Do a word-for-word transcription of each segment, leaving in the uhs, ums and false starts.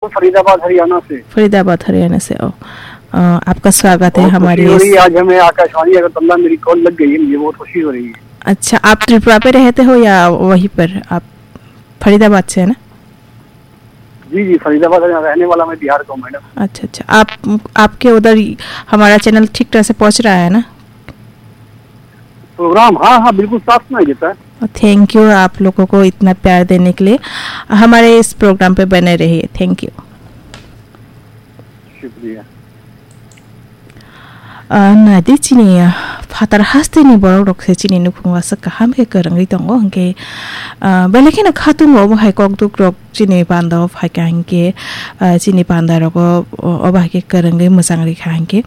फरीदाबाद हरियाणा से। फरीदाबाद हरियाणा से, ओ। अ, आपका स्वागत है बहुत हमारे खुशी हो रही इस है, आज हमें आकाशवाणी अगरतला में मेरी कॉल लग गई है, मुझे बहुत खुशी हो रही है। अच्छा, आप त्रिपुरा पे रहते हो या वहीं पर? आप फरीदाबाद से है ना? जी, जी, फरीदाबाद है, रहने वाला मैं बिहार का हूँ, मैडम। अच्छा, अच्छा। आप, आपके उधर हमारा चैनल ठीक तरह से पहुँच रहा है ना? प्रोग्राम, हाँ, हाँ, बिल्कुल साफ सुनाई देता है। थैंक यू आप लोगों को इतना प्यार देने के लिए। हमारे इस प्रोग्राम पे बने रहिए। Thank you. शुक्रिया। Ah, nadi chini, ah, phatar hasteni borok rok se chini nukhung aswk kaham khe kwrwngwi tongo, hwnkhe, ah, belai kheno khatungo omo hai kokduk rok chini panda o phaikha hwnkhe, ah, chini panda rogo, o-, obo hai khe kwrwngwi mwchang rikha hwnkhe,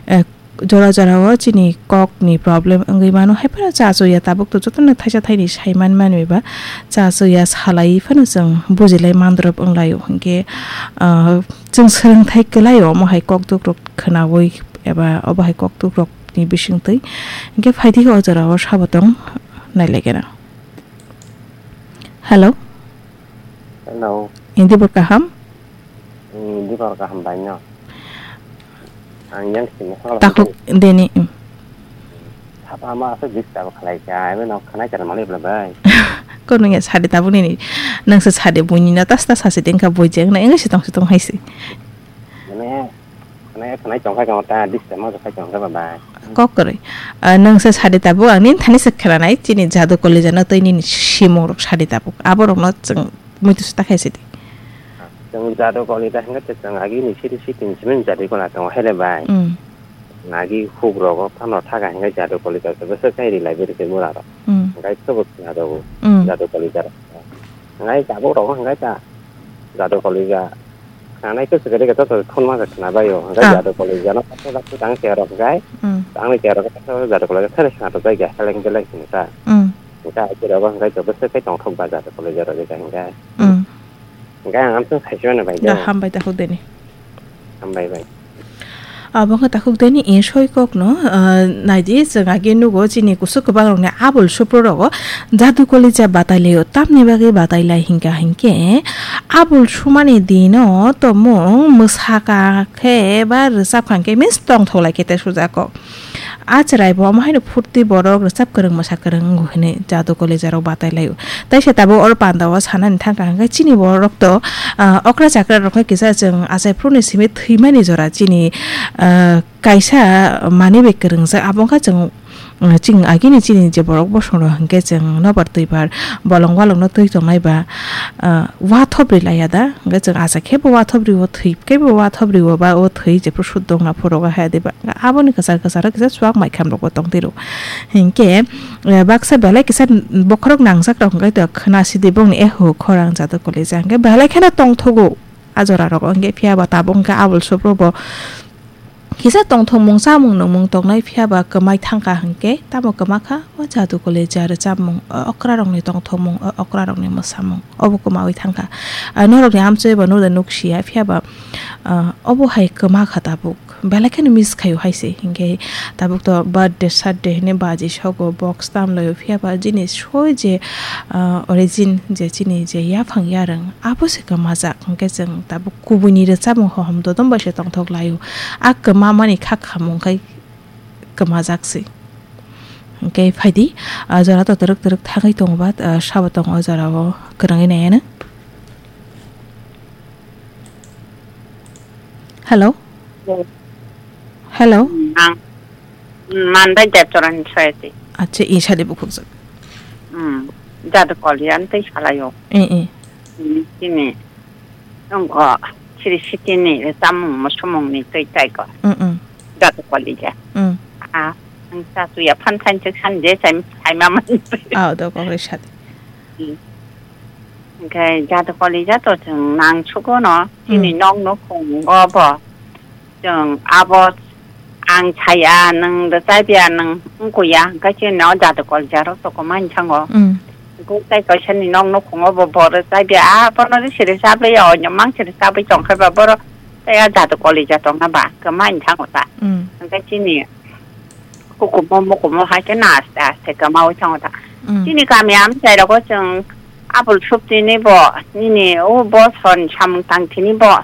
ah, jora jora o chini kok ni problem wngwi mano, hai phano cha chuya tabuk to jotono thaisa thaini sai man manwi ba cha chuya salai phano chwng bujilai mandrop wnglaio, hwnkhe, ah, chwng swrwngthai kwlaio omo hai kokduk rok khwnaui eba obo hai kokduk rok ni bisingtwi. Hwnkhe phaidi o jora o sabo tong nailaikena. Hello. Hello. Hindi bo kaham? Hmm, hindi ko kaham ba no. Ang yang sini ko. Takhuk deni, mm. Sapa ma asa disturb khalai ka, ebe no khana char mali bla bai. Ko nung ya sade tabuk nini. Nang sa sade bui ni na tas tas hasi dengka bui jeng na, enga sitong sitong haisi. Mane, khana, khana chong khai ka ta disturb ma khai chong ka ba bai. Kok kwrwi. Ah, nung sa sade tabuk ang nin thani sa khana nai, chini jadu college no tei nini simung rok sade tabuk. Abo rok no chwng muitu sa ta khai sidi. Chwng jadu college hingke chwng agi ni city city ni simi jadu college tongo hele bai. Mm. Nagi huk rogo phano thaga hingke jadu college o bwswk kai ri library ke mura rok. Mm. Hingke sobo khna rok Mm. jadu college rok. Hingke tabuk rok hingke ta jadu college khna nai ke sugari ke to khun ma khna bai o. Hingke Ah. jadu college no patho da tang ke rok hingke Mm. tang ke rok jadu college thare khna rok bai ke heleng beleng hingke ta. Mm. Hingke ake rok hingke to bwswk kai tong thok ba jadu college rok hingke. Mm. Hingke ang amtwng saisibano bai Da de. Hambai takhuk deni. Hambai bai. Abo wngkha takhuk deni e soi kokno, ah, naidi chwng age nugo chini kusuk kwbang rokni abul supru rogo jadu kolija batai laio. Tamni bagwi batai lai hingka hinkhe abul sumani dino tomung mwsaka khe ba rwchap kha hinkhe means tongthok lai khe te sujak kok. A chwrai bo omo haino phurti borok rwchap kwrwng mwsa kwrwng wngo hwnwi jadu kolija rok batai laio. Taisa tabuk oro panda o sanani thangkha hwnkhe chini borok to, ah, okra chakra rok khe kisa chwng achai phuru ni simi thwimani jora chini, ah, kaisa manwi bai kwrwngjak abo wngkha chwng, ah, chini agini chini je borok bosong rok hwnkhe chwng nobar twibar bolong walong no twi tongnai ba, ah, wathop ri laiya da, hwnkhe chwng acha khe bo wathop rio, thwi khe bo wathop rio ba, o thwi jephru sut dongna phuru o hai de ba, aboni kwchar kwcharo kisa chuak mai kham rok bo tong twi ro. Hinkhe, eh, baksa belai kisa bokhorok nangjak rok hwnkhe to khna sidi bongni eho khorang jadu kolija hwnkhe belai kheno tongthogo a jora rogo, hwnkhe phiya ba tabuk hwnkhe abul sopro bo Kisa tongthokmung, chamung nungmung tongnai phiya ba kwmai thangkha hinkhe, tamo kwma kha? O jadu kolija rwchapmung, o okrarokni tongthokmung, o okrarokni mwsamung, obo kwmaui thangkha. A norokni amchoi bo nukda nuksia, phiya ba, ah, obo hai kwma kha tabuk. Belai kheno miss khaio hai se, hinkhe tabuk to birthday, saturday hinwi baji sogo, box tamlaio, phiya ba jini soi je, ah, origin je chini je yaphang yarwng, abo se kwmajak, hinkhe chwng tabuk kubuini rwchapmung hohom dodom bai se tongthok laio. A kwmamani kha khamung khai kwmajak se. Hinkhe phaidi, ah, jora to twrwk twrwk thangwi tongo ba, ah, sabo tongo o jora o kwrwngwi naiya nw. Hello? Hello? Hello? Ang, mm, man bai Debchorani soyati. Acha, i sadi bukhukjak. Mm, jadu kolian tei salayo. Eh, eh. Mm, tini. Nungko siri sitini chamung musumungni twi tai ko. Mm, mm. Jadu kolija. Mm. Ah, ang sa tuya phan thain chik san je sai, sai ma man. Ah, do kokre sadi. Mm. Hingke jadu kolija to chwng nang sugo no. Chini Mm. nok nukhung go bo. Chwng abo ang saya, nwng rwchapya, nwng wngkuya, hwnkhe chini o jadu kolija rok toko mani thango. Mm. Hwnkhe tei kaisa ni nok nukhungo bo, bo rwchapya, abono siri chaplaiya, o mang siri chaplai tongkha ba, boro tei a jadu kolija tongna ba, kwmani thango ta. Mm. Hwnkhe chini hukumu mukumu hai khe no aste aste kwmaui thango ta. Mm. Chini kami amchai rogo chwng abul suptini bo, nini o boson samung tangthini bo,